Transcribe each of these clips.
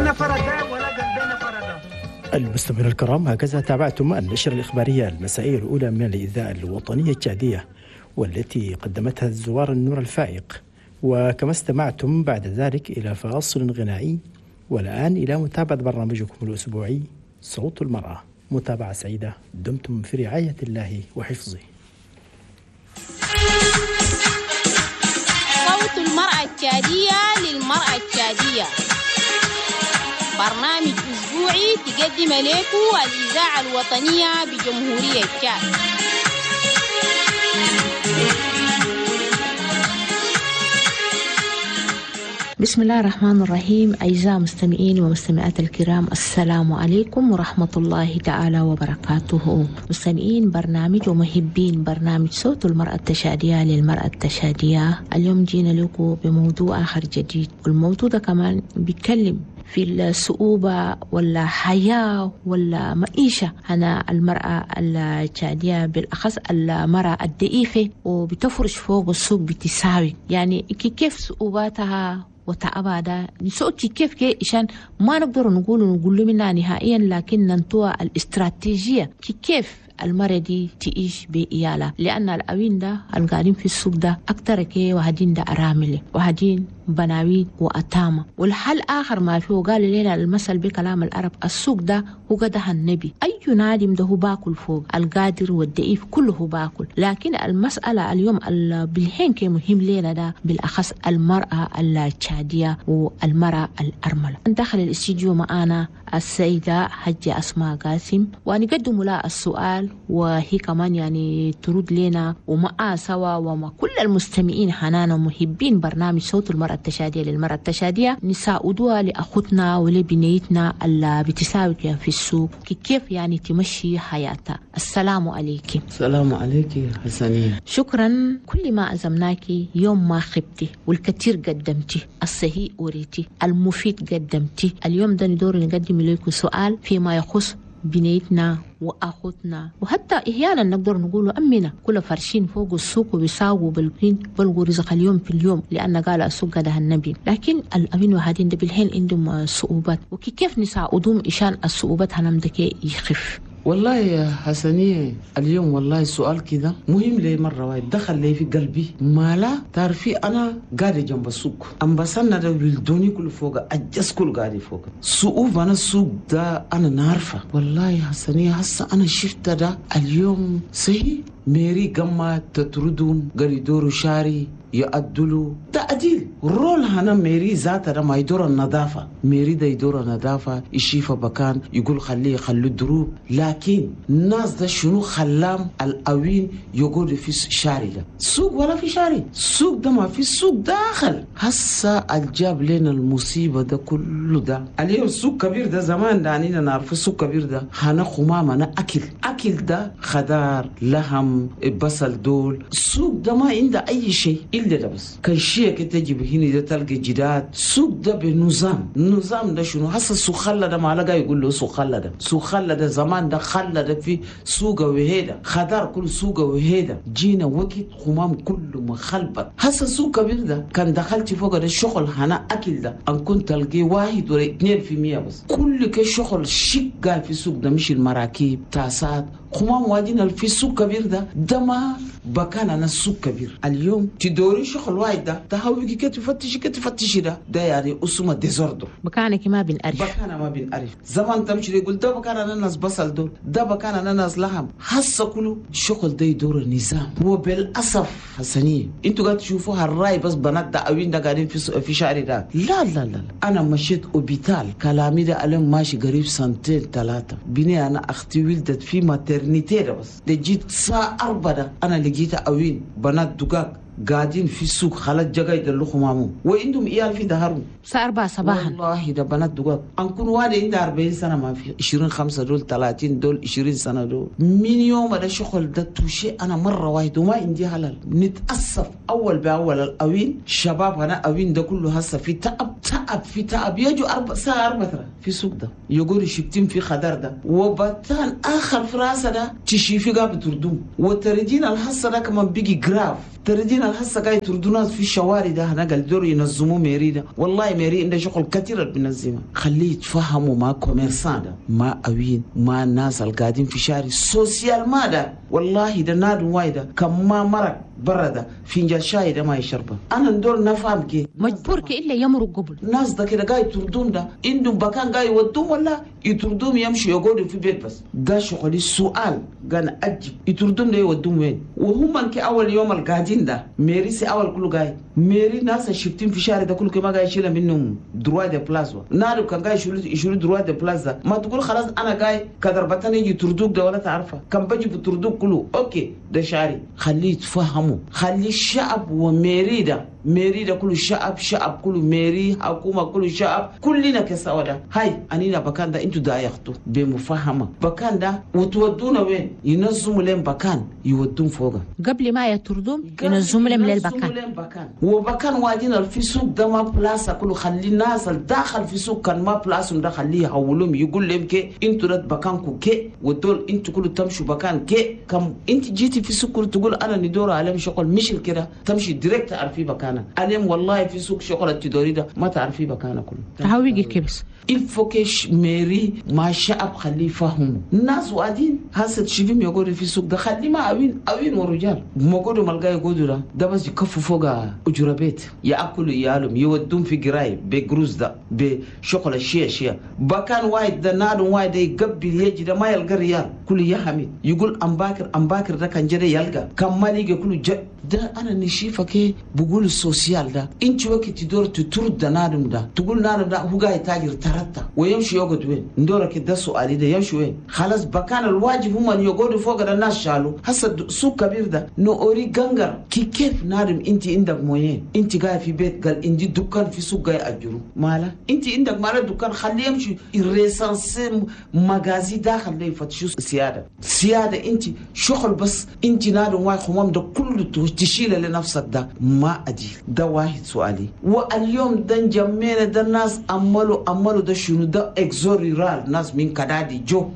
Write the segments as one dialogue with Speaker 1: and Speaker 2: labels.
Speaker 1: عيننا فردا ولا قلبنا فردا.
Speaker 2: المستمعون الكرام، هكذا تابعتم النشرة الإخبارية المسائية الأولى من الإذاعة الوطنية التشادية والتي قدمتها الزوار النور الفائق، وكما استمعتم بعد ذلك إلى فاصل غنائي، والآن إلى متابعة برنامجكم الأسبوعي صوت المرأة. متابعة سعيدة، دمتم في رعاية الله وحفظه.
Speaker 3: صوت المرأة التشادية للمرأة التشادية، برنامج أسبوعي تقدم لكم الإذاعة الوطنية بجمهورية تشاد.
Speaker 4: بسم الله الرحمن الرحيم. أعزائي المستمعين ومستمعات الكرام، السلام عليكم ورحمة الله تعالى وبركاته. مستمعين برنامج ومحبين برنامج صوت المرأة التشادية للمرأة التشادية، اليوم جينا لكم بموضوع آخر جديد، والموضوع ده كمان بيتكلم في الصعوبة ولا حياة ولا معيشة أنا المرأة التشادية، بالأخص المرأة الضعيفة وبتفرش فوق السوق بتساوي، يعني كيف صعوباتها وتعبها ده نسوتي كيف كي عشان ما نقدر نقول منها نهائيا، لكن ننطوى الاستراتيجية كيف المرة دي تعيش بإيالة، لأن الأوين ده القاعدين في السوق ده أكتر كي وهدين ده أرامل وهدين بناوين وأتامة. والحل آخر ما فيه، قال لنا المثل بكلام العرب، السوق ده هو قدها النبي، أي نادم ده هو باكل فوق، القادر والضعيف كله هو باكل. لكن المسألة اليوم بالحين كي مهم لنا ده بالأخص المرأة التشادية والمرأة الأرملة. دخل الاستديو معنا السيدة حجة أسماء قاسم، ونقدم لها السؤال وهي كمان يعني ترد لنا، ومع سوا ومع كل المستمعين حنانا ومحبين برنامج صوت المرأة التشادية للمرأة التشادية، نساعدوها لأخوتنا ولبنيتنا اللي بتساوي في السوق كيف يعني تمشي حياتها. السلام عليكم.
Speaker 5: السلام عليك يا حسنية.
Speaker 4: شكرا. كل ما عزمناك يوم ما خبتي، والكثير قدمتي، الصحيح وريتي، المفيد قدمتي. اليوم ده ندور نقدم لكم سؤال فيما يخص بنيتنا وأخوتنا، وحتى أحيانا نقدر نقول أمنا، كل فرشين فوق السوق وبيساووا بالقين بلغوا رزق اليوم في اليوم، لأن قال السوق ده النبي. لكن الأمين وهادين ده بالحين عندهم صعوبات، وكيف نساعدهم عشان الصعوبات هنمدك يخف؟
Speaker 5: والله يا حسنية اليوم والله السؤال كده مهم لي مرة واحد، دخل لي في قلبي. ما لا تعرفي أنا قاعدة جنب السوق، أم بسنا ده ولدوني كل فوق، أجس كل قاعدة فوق سوق. أنا السوق ده أنا نعرفه والله يا حسنية. هسه أنا شفت ده اليوم صحيح ميري قمة تطردهم قال يدوروا شاري يعدلوا تعديل رول هنا ميري ذاتها ده ما يدور النظافة، ميري ده يدور النظافة، يشيف بكان يقول خليه يخلوا الدروب. لكن الناس ده شنو خلام الأوين يقول في شاري ده سوق ولا في شاري، سوق ده ما في سوق داخل. هسا الجاب لنا المصيبة ده كله ده اليوم. سوق كبير ده زمان ده عنينا نعرف سوق كبير ده هنا خمامة أنا أكل ده خضار لحم بصل دول. السوق ده ما عنده أي شيء إلا ده بس كان شيء كتجيب هنا ده تلقى جداد. سوق ده بنظام، النظام ده شنو هسا سوق خلة ده ما لقى يقول له سوق خلة ده، سوق خلة ده زمان ده خلة ده في سوق وهيدا خضار كل سوق وهيدا. جينا وقت خمام كله مخلبط. هسا سوق كبير ده كان دخلت فوق ده الشغل هنا أكل ده أن كنت تلقي 1 ولا 2% بس. كل كشغل شقة في سوق ده، مش المراكب تاسات خمام واجينا في سوق كبير ده ده ما بكان أنا سوق كبير. اليوم تدوري شغل واحد ده تهوي كي تفتشي كي تفتشي ده ده يعني أسمه ديزوردو.
Speaker 4: بكانك ما بنعرف،
Speaker 5: بكان ما بنعرف. زمان تمشي يقول ده بكان أنا ناس بصل دول، ده بكان أنا ناس لحم. حس كله شغل ده يدور النظام. وبالأسف حسنية انتوا قاعد تشوفوها الراي بس بنات ده أوين ده قاعدين في شعري ده. لا لا لا، أنا مشيت أوبيتال كلامي ده ألم ماشي قريب 2-3 سنين بني أنا أختي ولدت في maternité ده بس ده جيت الساعة 4 أنا لقيتها أوين بنات دقاق قاعدين في السوق خلت جاي يدلخوا مامو وعندهم عيال في ظهرهم
Speaker 4: الساعة 4 صباحا.
Speaker 5: والله ده بنات دقاق أنكون واحد عنده 40 سنة ما في 25 دول 30 دول 20 سنة دول. من يوم ده شغل ده توشي أنا مرة واحد وما عندي حلال. نتأسف أول بأول الأوين شباب هنا أوين ده كله هسه في تعب تعب في تعب. يجوا الساعة 4 في السوق ده يقولوا شفتين في خضر ده وبتان آخر في راسه ده تشيفي قاب تردوم وترجينا الحصة ده كمان بيجي جراف تردين الحسة قاعد يطردوا ناس في الشوارع ده هنا قال دور ينظموا mairie ده والله mairie عنده شغل كثير بنظمه خليه يتفهموا مع commerçants ده ما أوين ما الناس القاعدين في شارع social ما ده والله ده نادم وايده كم ما مرق برا ده فنجان شاي ده ما يشربه انا ندور نفهم كي
Speaker 4: مجبور كي الا يمرق قبل
Speaker 5: الناس ده كده قاعد يطردون ده عندهم بكان قاعد يودون ولا يطردون يمشوا يقعدوا في بيت بس ده شغلي السؤال كان اجب يطردون ده يودون وين وهم كي اول يوم القاعدين ده mairie سي اول كله قاعد mairie ناس شفتين في شارع ده كله كما قاعد يشيل منهم droit de place نادو كان قاعد يشيلوا droit de place ما تقول خلاص انا قاعد كدر بتاني يطردوك ده ولا تعرفه كان بجي بتردوك كله OK ده شاري خليه يتفهموا خلي الشعب و mairie ده mairie ده كله شعب شعب كله mairie حكومة كله شعب كلنا كسوا ده هاي أنينا بكان ده انتو دايختو بمفاهمة بكان ده وتودونا وين ينظموا لهم بكان يودون فوقه
Speaker 4: قبل ما يطردون ينظموا لهم للبكان
Speaker 5: وبكان وادينا في سوق ده ما بلاصة كله خلي الناس الداخل في سوق كان ما بلاصهم ده خليه يحولهم يقول لهم كي انتو رد بكانكو كي ودول انتو كله تمشوا بكان كي كم انت جيتي في سوق كله تقول انا ندور عليهم شغل مش كده تمشي direct تعرفي بكانه عليهم والله في سوق شغل التدوري ده ما تعرفي بكانه كله
Speaker 4: تعويقي كبس
Speaker 5: il faut que mairie مع الشعب خليه يفهموا الناس وادين هسه تشوفهم يقعدوا في السوق ده خليه ما اوين اوين ورجال ما يقعدوا ملقا يقعدوا ده ده بس يكفوا فوق اجره بيت ياكلوا عيالهم يودون في قراي بجروز ده بشغل الشيء شيء بكان واحد ده نادم واحد يقبل يجي ده ما يلقى ريال كل يحمد يقول امباكر امباكر ده كان جري يلقى كان مالي كله ده انا نشيفه كي بقول ال social ده انت وقت تدور تطرد نادم ده تقول نادم ده هو قاعد تاجر ترتع ويمشي يقعد وين ندورك ده سؤالي ده يمشي وين خلاص بكان الواجب هم ان يقعدوا فوق ده الناس شالوا هسه سوق كبير ده نوري غنغر كي كيف نادم انت عندك moyens انت قاعد في بيت قال عندي دكان في سوق قاعد اجره مالا انت عندك مالا دكان خليه يمشي recenser magasin داخل ليه يفتشوا سيادة سيادة انت شغل بس انت نادم واي خمام ده كله تشيل لنفسك ده ما أدي ده واحد سؤالي واليوم ده جمينا ده الناس أملوا ده شنو ده exode rural ناس من كدادي جو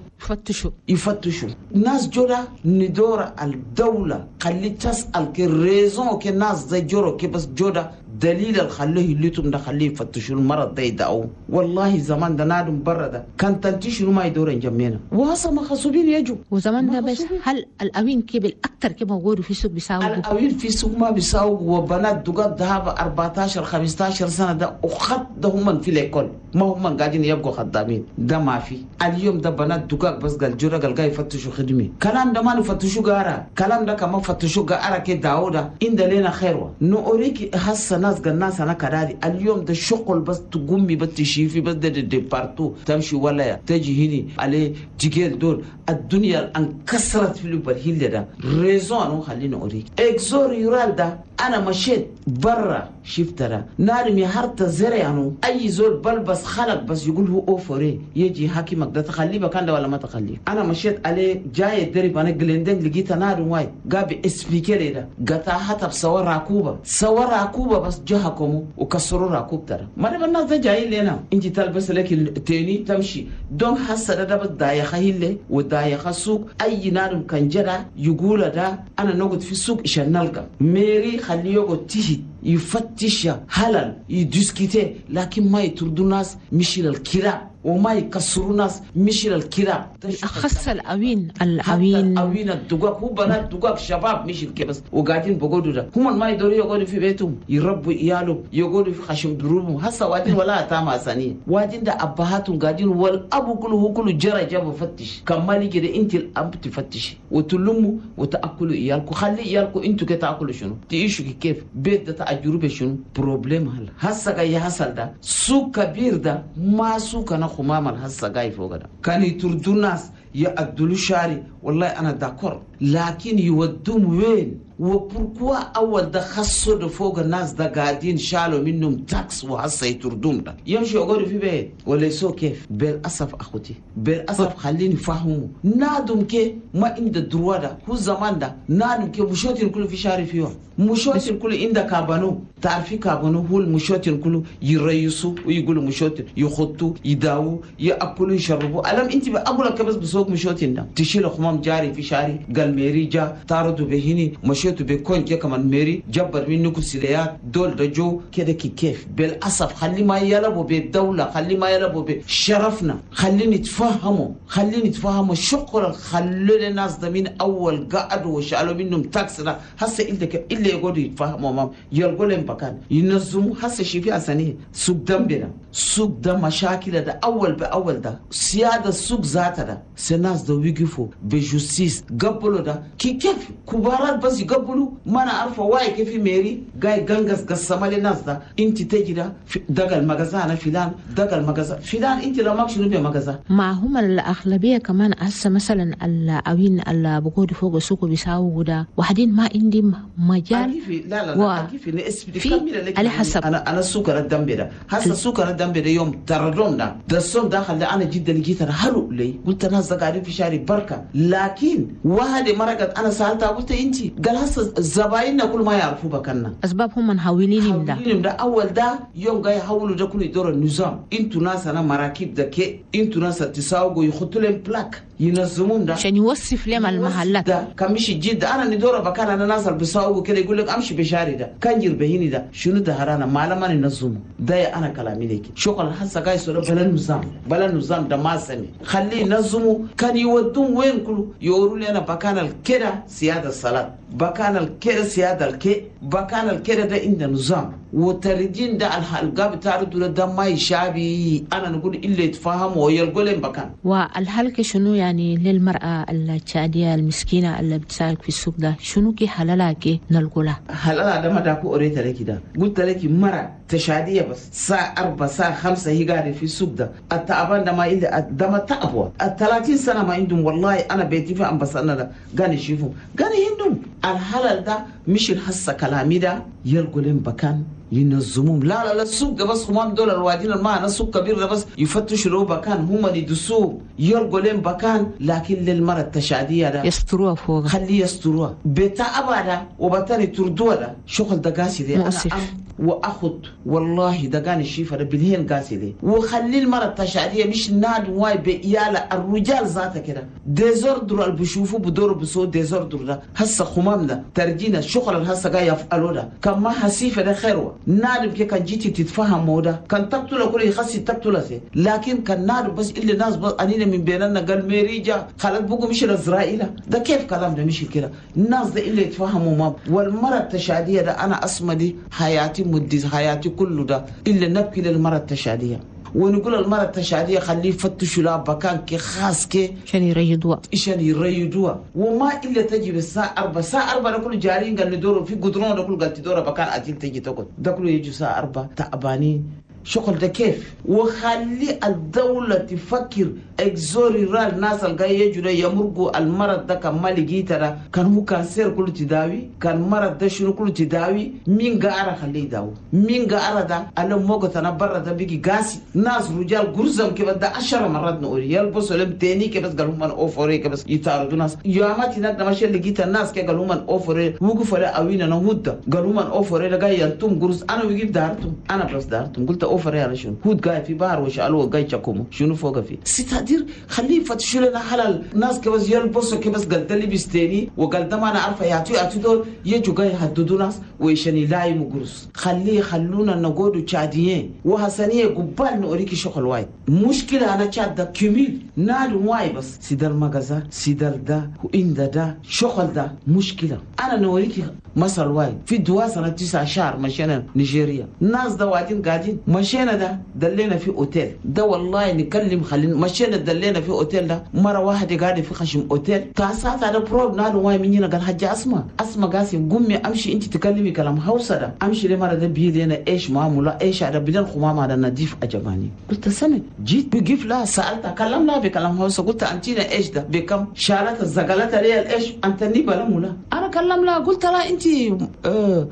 Speaker 5: يفتشوا ناس جورا ندور الدولة خلي تسأل كي raison كي ناس زي جورو كي بس جورا دليل الخليه اللي تم ده خليه يفتشوا المرض ده يدعو والله زمان ده نادم برا ده كان تنتشروا ما يدورن جمينا وهسه ما خصوبين يجوا
Speaker 4: وزمان ده بس هل الأوين كبل أكتر كما موجود في السوق بيساووا
Speaker 5: الأوين في السوق ما بيساووا وبنات دقات ذهب 14 15 سنة ده وخد ده هم في l'école ما هم قاعدين يبقوا خدامين ده ما في اليوم ده بنات دقاق بس قال جورا قال جاي يفتشوا خدمي كلام ده ما نفتشوا قارا كلام ده كمان فتشوا قارا كي داودا إن ده لنا خيروا نوريك هسه ناس قال ناس أنا كراري اليوم ده شغل بس تقومي بس تشيفي بس ده دي partout تمشي ولا تجي هني عليه تجيل دول الدنيا انكسرت في البرهيل ده raison أنا خليني أوريك exode rural ده أنا مشيت برا شفت ده نارمي هرت زرع أنو أي زول بلبس خلق بس يقول هو أوفري يجي حكيمك ده تخليه بكان ده ولا ما تخليه أنا مشيت عليه جاي الدرب أنا جلندن لقيت نار وايد قابي اسبيكري ده قطع حتى بصور راكوبة صور راكوبة بس جهكم وكسروا راكوب ترى ما نبى الناس ده جاي لنا أنت تلبس لك التاني تمشي دون حس ده بس دايخة هيلة ودايخة سوق أي نار كان جرى يقول ده أنا نقعد في السوق عشان نلقى mairie خليه يقعد تهت يفتش هلال ي discuter لكن ما يطردوا ناس مش للكلاب وما يكسروا ناس مش للكلاب
Speaker 4: بالأخص الأوين الأوين
Speaker 5: الأوين الدقاق هو بنات دقاق شباب مش الكبس وقاعدين بقعدوا ده هم ما يدوروا يقعدوا في بيتهم يربوا عيالهم يقعدوا في خشم دروبهم هسه وادين ولا أتاما سنين وادين ده أبهاتهم قاعدين والأبو كله هو كله جرى جاب فتش كمالي كده أنت الأب تفتش وتلموا وتأكلوا عيالكم خلي عيالكم أنتوا كده تأكلوا شنو تعيشوا كيف بيت ده تأجروا بشنو problème هل هسه جاي حصل ده سوق كبير ده ما سوق أنا خمام الهسه جاي فوق ده كان يطردوا الناس يعدلوا شاري والله أنا d'accord لكن يودوم وين و pourquoi أول ده خصوا ده فوق الناس ده قاعدين شالوا منهم taxe وهسه يطردوم ده يمشي يقعدوا في بيت ولا يسوي كيف بالأسف أخوتي بالأسف خليني فهموا نادم كي ما عند droit ده هو زمان ده نادم كي مشوتين كله في شاري فيهم مشوتين كله عند كابانو تعرفي كابانو هو المشوتين كله يريسوا ويقولوا مشوتين يخطوا يداووا يأكلوا يشربوا ألم أنت بأقول لك بس بسوق مشوتين ده تشيل خمام جاري في شاري قال قال mairie جا طاردوا بهني مشيتوا بكون جا كمان mairie جبر منكم سليات دول دجو كده كيف بالاسف. خلي ما يلعبوا بالدوله، خلي ما يلعبوا بشرفنا، خليني يتفهموا، خليني يتفهموا شغل. خلوا الناس ده من اول قعدوا وشالوا منهم taxe ده هسه الا يقعدوا يتفهموا مام يلقوا لهم مكان ينظموا. هسه شي في اسانيه سوق دم بنا سوق ده مشاكل ده اول باول ده سياده السوق ذاتها ده الناس ده ويقفوا ب justice قبلوا ده كيف كبارات بس يقبلوا. ما انا عارفه واي كيف mairie جاي غنغس قسم للناس ده انت تجي ده دقل مغازة فلان دقل مغازة فلان انت لو ماك شنو بمغازة.
Speaker 4: ما هم الاغلبيه كمان هسه مثلا الاوين اللي بقعدوا فوق السوق بيساووا ده وحدين ما عندي مجال.
Speaker 5: لا لا لا في
Speaker 4: على حسب
Speaker 5: انا السوق الدم ده هسه السوق الدم ده يوم تردونا ده الصوم دخل انا جدا لقيت هلو لي قلت الناس قاعدين في شارع بركه. لكن واحد مرقت انا سالتها قلت انت قال هسه زبايننا كل ما يعرفوا بكنا
Speaker 4: اسباب هم محاولين ده
Speaker 5: ده اول ده يوم جاي يحولوا ده كله يدور النظام. انتوا ناس انا مراكب ده كي انتوا ناس تساوقوا يحطوا لهم plaque ينظمون ده
Speaker 4: عشان يوصف لهم المحلات
Speaker 5: ده كان مش جد. انا ندور بكان انا ناس بيساوقوا كده يقول لك امشي بشاري ده كان بهيني ده شنو ده هرانا ما لما ننظمه ده انا كلامي لك شغل هسه جاي سورة بلا نظام بلا نظام ده ما سمي خليه ينظموا. كان يودون وين كله يقولوا لي انا بكان الكده سياده الصلاه بكان الكده سياده الكي بكان الكده ده عند نظام وتردين ده الحلقه بتاعته ده ما يشابي. انا نقول الا يتفهم ويلقوا لهم بكان.
Speaker 4: والحلقه شنو يعني للمراه التشاديه المسكينه اللي بتسالك في السوق ده شنو كي حلالها كي نلقولها
Speaker 5: حلالها ده ما داكو اوريتا لك ده قلت لك مره تشاديه بس الساعه 4 الساعه 5 هي قاعده في السوق ده التعبان ده ما الا ده ما تعبوا 30 سنه ما عندهم. والله انا بيتي في امبسانا ده قاني شوفوا قاني عندهم الحلال ده مش الحسه كلامي ده يلقوا لهم بكان ينظموهم. لا لا لا السوق ده بس هم دول الوادين ما السوق كبير ده بس يفتشوا له بكان هم اللي يدسوه يلقوا لهم بكان. لكن للمرة التشادية ده
Speaker 4: يستروها فوق
Speaker 5: خليه يستروها بتاع ده وبتاني تردوها ده شغل ده قاسي ده
Speaker 4: مؤسف.
Speaker 5: أنا واخد والله ده كان الشيفة ده بالهين قاسي ده. وخلي المرة التشادية مش ناد واي بيالا الرجال ذاته كده désordre اللي بشوفه بدور بسو désordre ده هسه خمام ده ترجينا الشغل اللي هسه جاي يفعلوا ده كان ما حسيفة ده خيروه نادم كي كان جيتي تتفهم مودا كان تقتل كل يخسي تقتل سي. لكن كان نادم بس اللي ناس بس انينا من بيننا قال ميريجا خلت بقوا مش الاسرائيل ده كيف كلام ده مش كده الناس ده اللي يتفهموا ما. والمرة التشادية ده انا اسمى دي حياتي مدي حياتي كله ده الا نبكي للمرة التشادية ونقول المرة التشادية خليه يفتشوا لها بكان كي خاص كي
Speaker 4: عشان يريدوها
Speaker 5: عشان يريدوها. وما إلا تجي بالساعة 4 الساعة 4 نقول جارين قال ندوروا في قدرون نقول قال تدوروا بكان أتيل تجي تقول ده كله يجوا الساعة 4 تعبانين شغل ده كيف. وخلي الدولة تفكر exode rural الناس الجاي يجوا يمرقوا المرض ده كان مالي جيترا كان هو cancer كله تداوي كان مرض ده شنو كله تداوي مين قارة خليه يداوي مين قارة ده أنا موقت أنا برا ده بيجي قاسي ناس رجال جرزم كيف ده 10 مرات نقول يلبسوا لهم تاني كيف بس قالوا من أوفري كيف بس يطاردوا ناس يا ما تناد ما شيء لقيت الناس كي قالوا من أوفري وقفوا لا أوينا نهود قالوا من أوفري لقى ينتم جرز أنا ويجيب دارتم أنا بس دارتم قلت أوفري على شنو هود قاعد في بار وشالوه قاعد يشكمه شنو فوق فيه ستادير خليه يفتشوا لنا حلال ناس كبس يلبسوا كبس قال ده لبس تاني وقال ده ما أنا عارفة يعطوا دول يجوا قاعد يهددوا ناس ويشني لاي مجرس خليه خلونا نقعدوا تشاديين وحسنية قبال نوريكي شغل وايد مشكلة أنا تشاد ده كميل نادو واي بس سيدال مغازة سيدال ده وإن ده شغل ده مشكلة أنا نوريكي مثل وايد في دوا سنة 9 شهر مشينا نيجيريا ناس ده وادين قاعدين مشينا ده دلينا في أوتيل ده والله نكلم خلينا مشينا دلينا في أوتيل ده مرة واحدة قاعدة في خشم أوتيل تاسات هذا بروب نادو واي منينا قال حاجة أسمع قاسم قومي أمشي أنت تكلمي كلام هوسة ده أمشي لمرة ده بيلينا إيش معاملة إيش هذا بدل خمام هذا نضيف أجباني قلت سمع جيت بقف لها سألتها كلام لها بكلام هوسة قلت أنتينا إيش ده بكم شالت الزقالات لي الإيش أنت نبلا مولا أنا كلام لها قلت لها أنت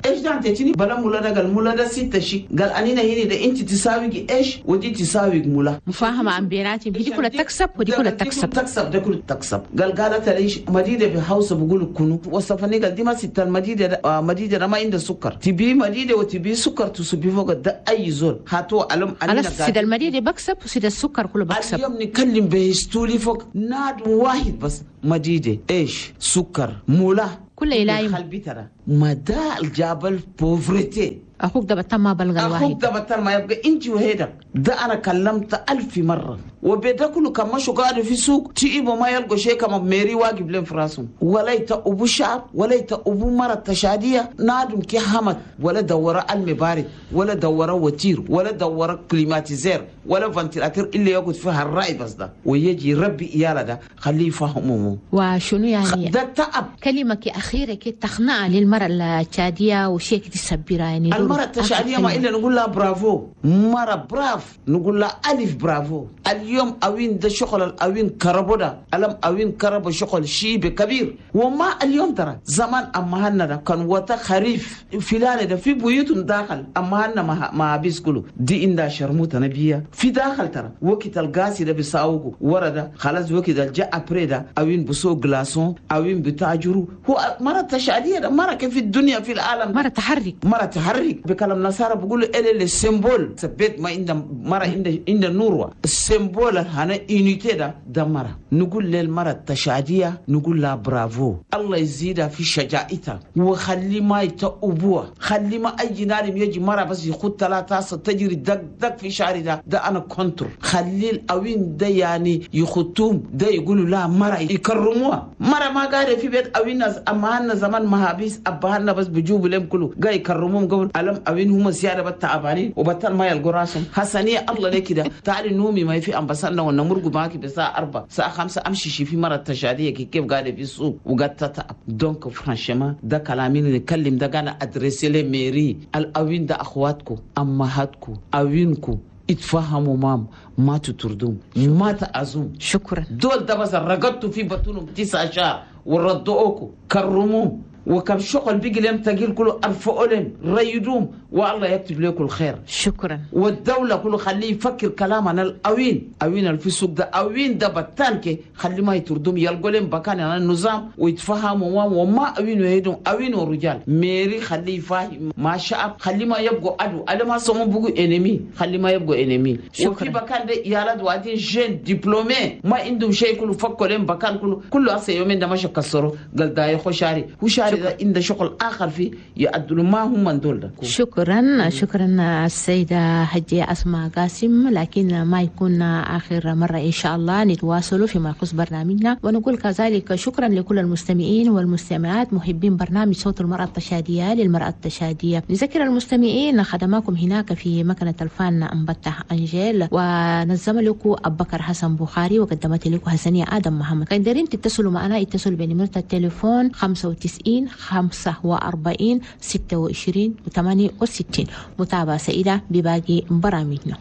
Speaker 5: ايش ده انت بلا مولا ده قال مولا ده 6 شيء قال انينا هنا ده انت تساوي ايش ودي تساوي مولا
Speaker 4: مفاهمه عن بيناتهم دي كلها تكسب ودي كلها تكسب
Speaker 5: تكسب ده كله تكسب قال قالت ليش مديده بهاوس بقول كنو وصفني قال دي ما ستة المديده مديده ما عندها سكر تبي مديده وتبي سكر تصبي فوق ده اي زول هاتوا علم
Speaker 4: انا سيد المديده بكسب وسيد السكر كله بكسب
Speaker 5: اليوم نكلم بهستولي فوق ناد واحد بس مديده ايش سكر مولا
Speaker 4: كله يلايم
Speaker 5: قلبي ترى ما ده الجبل pauvreté
Speaker 4: اخوك ده بطل ما بلغ الواحد
Speaker 5: اخوك ده بطل ما يبقى انت وهيدا ده انا كلمت 1000 مره وبدا كله كما شو قاعد في سوق تيبو ما يلقوا شيء كما ميري واجب لهم في راسهم ولا ابو شعب ولا ابو مره تشاديه نادم كي حمد ولا دورة المبارد ولا دورة voiture ولا دورة climatiseur ولا ventilateur اللي يقعد فيها الرأي بس ده ويجي ربي إيالا ده خليه يفهمه
Speaker 4: وشنو يعني
Speaker 5: ده تعب
Speaker 4: كلمة أخيرة كي تقنع للمرأة التشادية وشيء تسبرها يعني
Speaker 5: المرأة التشادية ما إلا نقول لها برافو مرة brave نقول لها ألف برافو اليوم أوين ده شغل الأوين كربو ده ألم أوين كربو شغل شيء كبير وما اليوم ترى زمان أما هنا ده كان وتا خريف فلان ده في بيوتهم داخل أما هنا ما بيس كله دي إندا شرموطة نبيا في داخل ترى وقت الغاز ده بيساوقو ورا ده خلاص وقت الجاء أبري ده أوين بسوق glaçons أوين بتاجرو هو مرة تشادية ده مرة كيف في الدنيا في العالم
Speaker 4: مرة تحرك
Speaker 5: مرة تحرك بكلام نصارى بيقولوا إلى ال symbole بيت ما عند مرة عند النور ال symbole هنا unité ده مرة نقول للمرة التشادية نقول لها برافو الله يزيدها في شجاعتها وخلي ما يتأبوها خلي ما أي نارم يجي مرة بس يخد 3 تجري دق دق في شعري ده أنا contre خلي الأوين ده يعني يخطوم ده يقولوا لا مرة يكرموها مرة ما قاعدة في بيت أوين ناس أما هن زمان مهابيس أبهنا بس بجوب لهم كله قاعد يكرموهم قبل ألم أوين هم زيادة بتعبانين وبطل ما يلقوا راسهم حسنية الله لك كده تعالي نومي ما في أمبسنا ونمرق معاك بساعة 4 الساعة 5 أمشي شي في مرة تشادية كيف قاعدة في السوق وقعدت تتعب donc franchement ده كلامي نتكلم ده قاعد adresser les mairies الأوين ده أخواتكم أمهاتكم أوينكم اتفهموا مام ما تطردوم ما تأذوم
Speaker 4: شكرا
Speaker 5: دول ده بس رقدتوا في بطنهم 9 شهر وردوكم كرموهم وكم شغل بيجي لهم تقيل كله ارفعوا لهم ريدوم والله يكتب لكم الخير
Speaker 4: شكرا
Speaker 5: والدولة كله خليه يفكر كلام انا الاوين اوين في السوق ده اوين ده بتانك خلي ما يتردوم يلقوا لهم بكان على النظام ويتفهموا وما اوين ويدوم اوين ورجال mairie خليه يفهم ما شعب خلي ما يبقوا عدو انا ما سمو بقوا ennemi خلي ما يبقوا ennemi وفي بكان ده يالد وادين jeunes diplômés ما عندهم شيء كله فكوا لهم بكان كله كله هسه يومين ده ما كسروا قال ده يخو شاري هو شاري عند شغل آخر فيه يعدلوا ما هم من دول.
Speaker 4: شكرا شكرا السيدة حجية أسماء قاسم، لكن ما يكون آخر مرة إن شاء الله نتواصل فيما يخص برنامجنا، ونقول كذلك شكرا لكل المستمعين والمستمعات محبين برنامج صوت المرأة التشادية للمرأة التشادية. نذكر المستمعين خدماكم هناك في مكنة الفان أمبتة أنجيل، ونظم لكم أبو بكر حسن بخاري، وقدمت لكم حسنية آدم محمد. كان دارين تتصلوا معنا اتصلوا بنمرة التليفون 95 45 26 68. متابعة سعيدة بباقي برامجنا.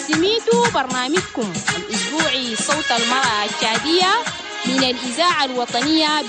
Speaker 3: سميتوا برنامجكم الأسبوعي صوت المرأة التشادية من الإذاعة الوطنية